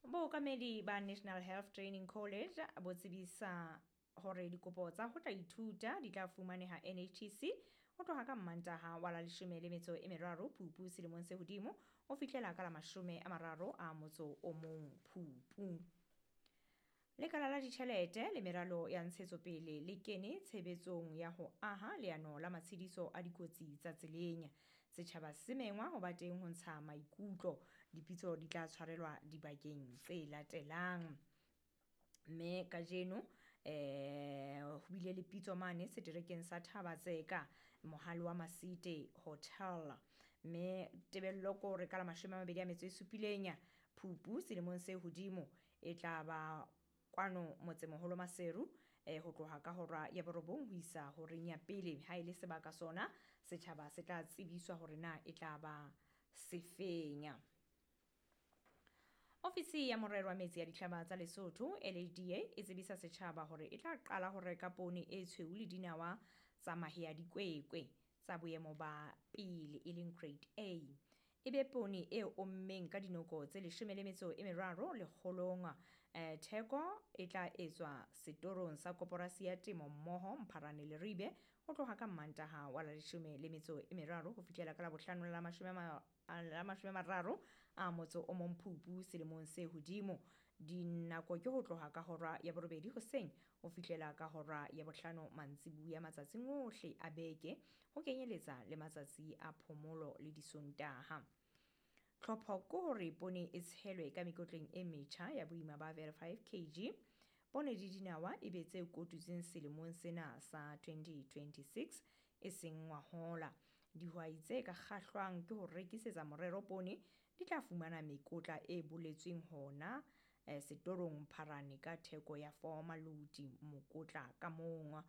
Bookamedi ba National Health Training College bo tsebisa hore dikopo tsa ho tla ithuta di tla fumaneha NHTC ho tloha ka Mmantaha wa la 13 Phupu selemong se hodimo ho fihlela ka la 31 Phupu. Lekala la ditjhelete le meralo ya ntshetsopele le kene tshebetsong ya ho aha leano la matshediso a dikotsi tsa tseleng. Setjhaba se mengwa ho ba teng ho ntsha maikutlo. Dipitso di tla tshwarelwa dibakeng tse latelang. Mme kajeno ho bile le pitso mane seterekeng sa Thabatseka mohale wa Masite Hotel. Mme tebello ke hore ka la 27 Phupu selemong se hodimo e tla ba kwano motsemoholo Maseru ho tloha ka hora ya 9 ho isa horeng ya pele. Ha e le sebaka sona setjhaba se tla tsebiswa hore na e tla ba sefeng. Ofisi ya morero wa metsi ya dihlaba tsa Lesotho LHDA e tsebisa setjhaba hore e tla qala ho reka poone e tshweu le dinawa tsa mahe a dikwekwe tsa boemo ba pele e leng grade A. E be poone e ommeng ka dinoko tse 13 lekgolong. Theko e tla etswa setorong sa koporasi ya temo mmoho Mpharane Leribe ho tloha ka Mmantaha wa la 13 ho fihlela ka la bohlano la 31 Phupu selemong se hodimo. Dinako ke ho tloha ka hora ya 8 hoseng ho fihlela ka hora ya 5 mantsibuya matsatsing ohle a beke, ho kenyeletsa le matsatsi a phomolo le disontaha. Tlhopho ke hore poone e tshelwe ka mekotleng e metjha ya boima ba 5 kg. Poone le dinawa e be tse kotutsweng selemong sena sa 2026 e seng ngwahola. Dihwai tse ka kgahlwang ke ho rekisetsa morero poone di tla fumana mekotla e boletsweng hona setorong Mpharane ka theko ya 4 maloti mokotla ka mong.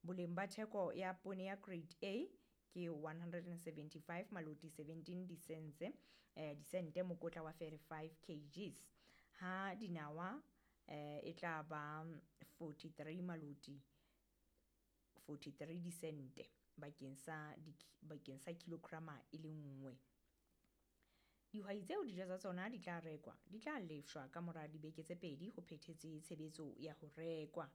Boleng ba theko ya poone ya grade A ke 175 maloti 17 disente mokotla wa 35 kgs. Ha dinawa e tla ba 43 maloti 43 disente bakeng sa kilograma e le nngwe. Dihwai tseo dijo tsa tsona di tla rekwa di tla lefshwa ka mora dibeke tse 2 ho phethetse tshebetso ya ho rekwa.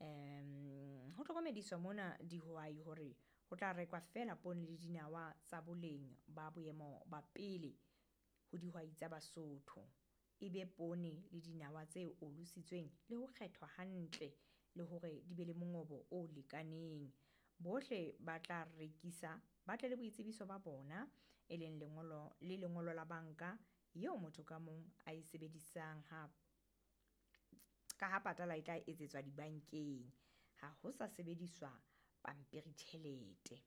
Ho hlokomediswa mona dihwai hore ho tla rekwa fela poone le dinawa tsa boleng ba boemo ba pele ho dihwai tsa Basotho. E be poone le dinawa tse olositsweng le ho kgethwa hantle le hore di be le mongobo o lekaneng. Bohle ba tla rekisa ba tle le boitsebiso ba bona e leng lengolo le lengolo la banka eo motho ka mong a e sebedisang ha ka ha patala e tla etsetswa dibankeng, ha ho sa sebediswa pampiri tjhelete.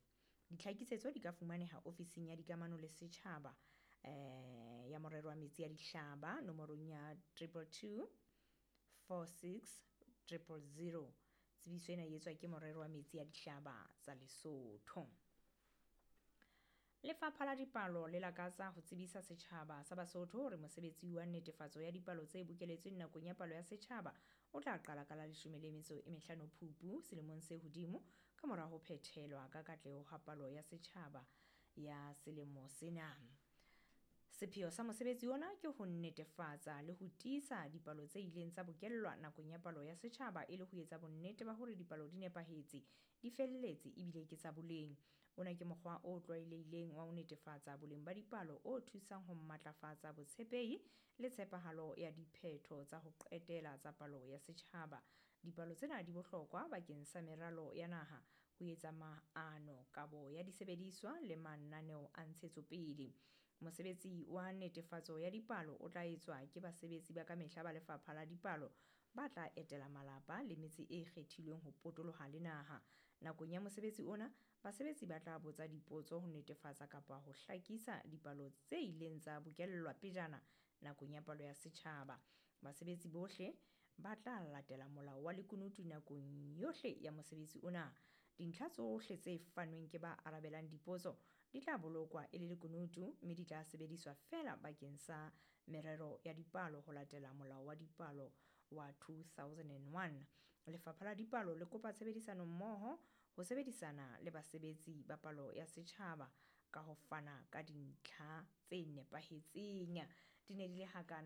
Ditlhakisetso di ka fumaneha ofising ya dikamano le setjhaba ya morero wa metsi ya dihlaba nomorong ya 222 46 000. Tsebiso ena e etswa ke morero wa metsi ya dihlaba tsa Lesotho. Lefapha la Dipalo le lakatsa ho tsebisa setjhaba sa Basotho hore mosebetsi wa netefatso ya dipalo tse bokeletsweng nakong ya palo ya setjhaba o tla qala ka la 15 Phupu selemong se hodimo ka mora ho phethelwa ka katleho ha palo ya setjhaba ya selemo sena. Sepheo sa mosebetsi ona ke ho netefatsa le ho tiisa dipalo tse ileng tsa bokellwa nakong ya palo ya setjhaba e le ho etsa bonnete ba hore dipalo di nepahetse, di felletse ebile ke tsa boleng. Ona ke mokgwa o tlwaelehileng wa ho netefatsa boleng ba dipalo o thusang ho matlafatsa botshepehi le tshepahalo ya diphetho tsa ho qetela tsa palo ya setjhaba. Dipalo tsena di bohlokwa bakeng sa meralo ya naha, ho etsa maano, kabo ya disebediswa le mananeo a ntshetsopele. Mosebetsi wa netefatso ya dipalo o tla etswa ke basebetsi ba kamehla ba lefapha la dipalo ba tla etela malapa le metse e kgethilweng ho potoloha le naha. Nakong ya mosebetsi ona, basebetsi ba tla botsa dipotso ho netefatsa kapa ho hlakisa dipalo tse ileng tsa bokellwa pejana nakong ya palo ya setjhaba. Basebetsi bohle ba tla latela molao wa lekunutu nakong yohle ya mosebetsi ona. Dintlha tsohle tse fanweng ke ba arabelang dipotso di tla bolokwa e le lekunutu mme di tla sebediswa feela bakeng sa merero ya dipalo ho latela molao wa dipalo wa 2001. Lefapha la Dipalo le kopa tshebedisano mmoho ho sebedisana le basebetsi ba palo ya setjhaba ka ho fana ka dintlha tse nepahetseng. Di ne di le hakana.